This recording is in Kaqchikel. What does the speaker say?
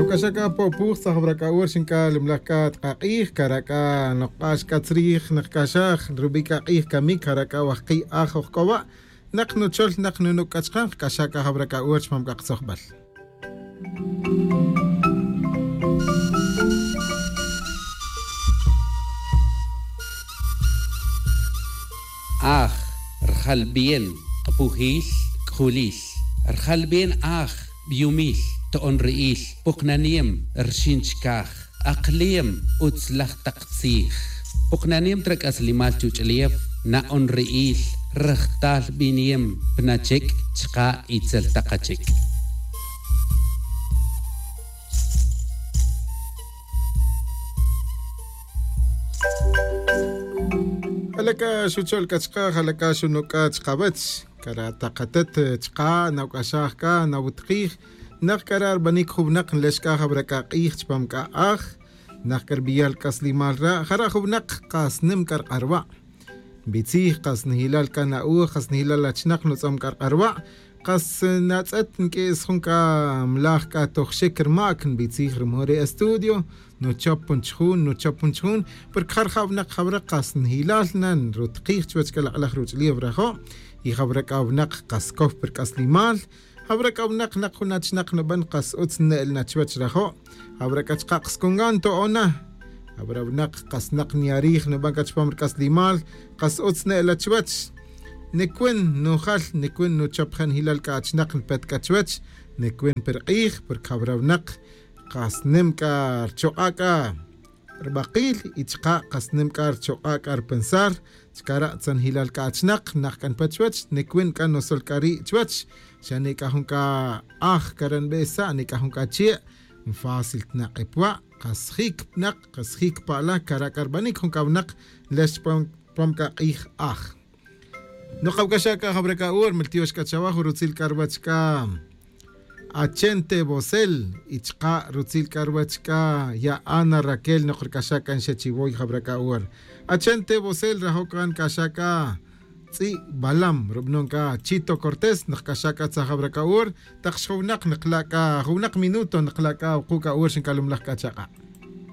Nawk'axaka Popuj tzajb'rak'a'ur xinka limlaj k'a tqaq'ij karak'a noq'ax k'atzrij naqk'axaj rub'i k'aq'ij kamik karak'a wajqi aj ojk'owa naq nuchol naq nunuk'achqan k'axaka jab'rak'a'ur chpam k'aqtzojb'al. Aj, rjalbien, q'pujil, k'julil. Rjalbien aj, b'yumil, to'onri'il, puqnaniem, rxinchkaj, aqliem, utzlaj taq tzij. Puqnaniem trak'aslimal chuch'lief, na'onri'il, rajtal b'iniem, pnachek, chqa itzel taqachik. Jalaka xuchol kachqa, jalaka xunuka chqawach, kara taqatet chqa, nawk'axaj ka, nawutqij, naq kara arb'anik jub'naq nlexk'a jab'raka q'ij chpam k'a'aj, naq karbiyal k'aslimal ra, jara jub'naq qas nim karq'arwa'. B'itzij qas nihilal kana'uj, qas nihilal achnaq nutz'om karq'arwa', qas natz'et nk'is jun k'a mlaj k'a tojxik rmak nb'itzij rumore estudio, nuchop punchjun, nuchop punchjun, porque jar jab'naq jab'ra qas nihilal nan rutqij chuwach kalaq'laj ruch'liw rajo', y jab'ra k'awnaq qas kow per k'aslimal, jab'ra k'awnaq naq jun achnaq nub'an qas utz ne'l nachwach rajo', jab'ra k'achqaq skungan to'ona, jab'ra wnaq qas naq niarij nub'an k'achpam rk'aslimal, qas utz ne'l achwach. Nikwin nujal, nikwin nuchop jan hilal k'achnaq npet k'achwach, nikwin per q'ij, porque jab'ra wnaq qas nim k'a rchoq'a k'a rb'aqil y chqa qas nim k'a rchoq'a k'a rpensar, chkara tzan hilal k'achnaq naq k'an pachwach, nikwin k'a nosol k'a ri' chwach, xa ni k'a jun k'a aj karan b'esa, ni k'a jun k'a chie', fácil tnaq'ipwa', qas jik pnaq, qas jik pa'la kara k'arb'anik jun k'awnaq lex pam pam k'a q'ij aj. Nuqawk'axaka jab'raka'ur miltiox k'achawaj rutzil k'arwach k'a Achente Bosel ichqa rutzil k'arwach k'a ya Ana Raquel noqrk'axaka nxechiwoy jab'raka'ur. Achente Bosel rajokan k'axaka tz'i Balam rub'non k'a Chito Cortés nqk'axaka tzajab'raka'ur taq xjuwnaq nqlak'a juwnaq minuto nqlak'a wuquk'a'ur xinkalumlaj k'achaqa'.